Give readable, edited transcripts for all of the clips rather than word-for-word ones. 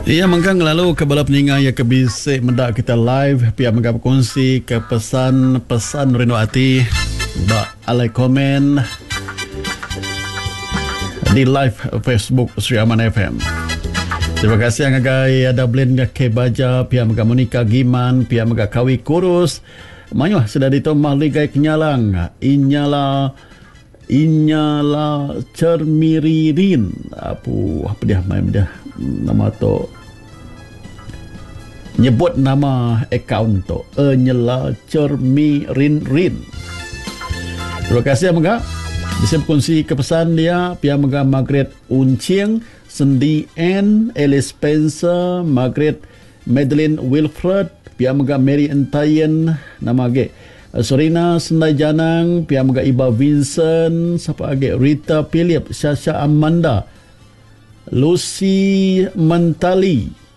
Iya mengkang ngelalu ke bala peninga iya ke bisi meda kita live pia mega bekunsi ke pesan pesan rindu ati ba alai komen di live Facebook Sri Aman FM. Terima kasih ngagai Dublin K Baja pia mega Monica Giman pia mega Kawi Kurus mayuh sida ditu Mahligai Kenyalang Inyala Inyala Chermiririn apu pedih mai meda nama tu nyebut nama akaun tu Enyela Chermirinrin. Terima kasih mega bisi bekunsi ke pesan dia pia mega Margaret Unching, Sendi Ann, Alice Spencer, Margaret Madeline Wilfred, pia mega Mary Entayan, nama agi Serina Sendai Janang, pia mega Iba Vincent, sapa agi Rita Philip, Shasha Amanda, Lucy Mentali,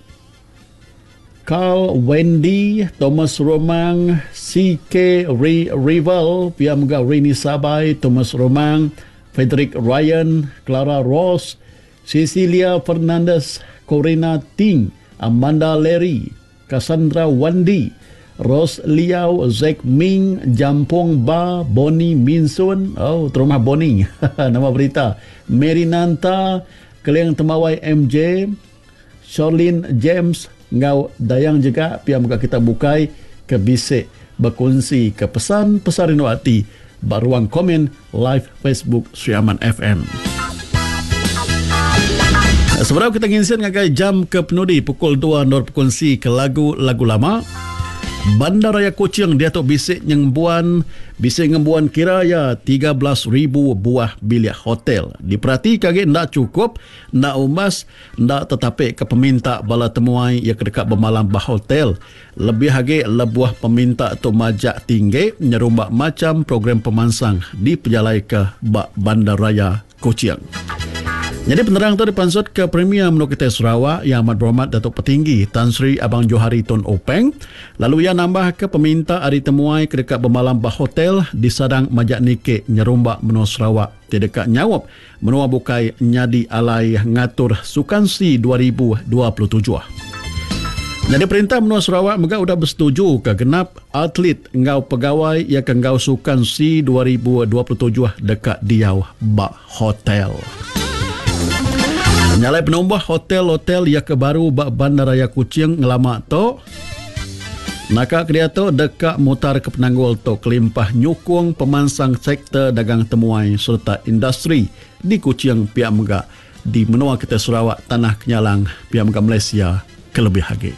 Carl Wendy, Thomas Romang, CK Ray Rival, pia mega Rini Sabai, Thomas Romang, Frederick Ryan, Clara Ross, Cecilia Fernandez, Corina Ting, Amanda Larry, Cassandra Wandi, Rose Liau, Zack Ming, Jampong Ba, Bonnie Minsun, oh terumah Bonnie, nama berita, Mary Nanta, Keling Tembawai MJ, Charlene James enggau Dayang Jega pia mega kita bukai ke bisi bekunsi ke pesan pesan rindu ati ba ruang komen live Facebook Sri Aman FM. Sebedau kita nginsin ngagai jam ke penudi pukul 2 endur bekunsi ke lagu-lagu lama. Bandaraya Kuching diatu bisi ngembuan bisi ngembuan kira iya 13,000 buah bilik hotel. Diperatika agi enda chukup, enda umbas, enda tetapika peminta bala temuai iya ke deka bemalam ba hotel. Lebih agi lebuh peminta tu majak tinggi nyerumba macham program pemansang dipejalaika ba Bandaraya Kuching. Nyadi penerang tu dipansutka Premier Menua Kitai Sarawak Yang Amat Berhormat Datuk Patinggi Tan Sri Abang Johari Tun Openg lalu iya nambahka peminta ari temuai ke deka bemalam ba hotel disadang majak niki nyerumba menua Sarawak ti deka nyaup Menua bukai nyadi alai ngatur Sukan SEA 2027. Nyadi perintah menua Sarawak mega udah besetuju ke genap atlet enggau pegawai iya ke enggau Sukan SEA 2027 deka diau ba hotel. Nya alai penumbuh hotel-hotel iya ke baru ba Bandaraya Kuching ngelama tu naka ke diatu deka mutarka penanggul tu kelimpah nyukung pemansang sektor dagang temuai sereta industri di Kuching pia mega di menua kitai Sarawak Tanah Kenyalang pia mega Malaysia kelebih agi.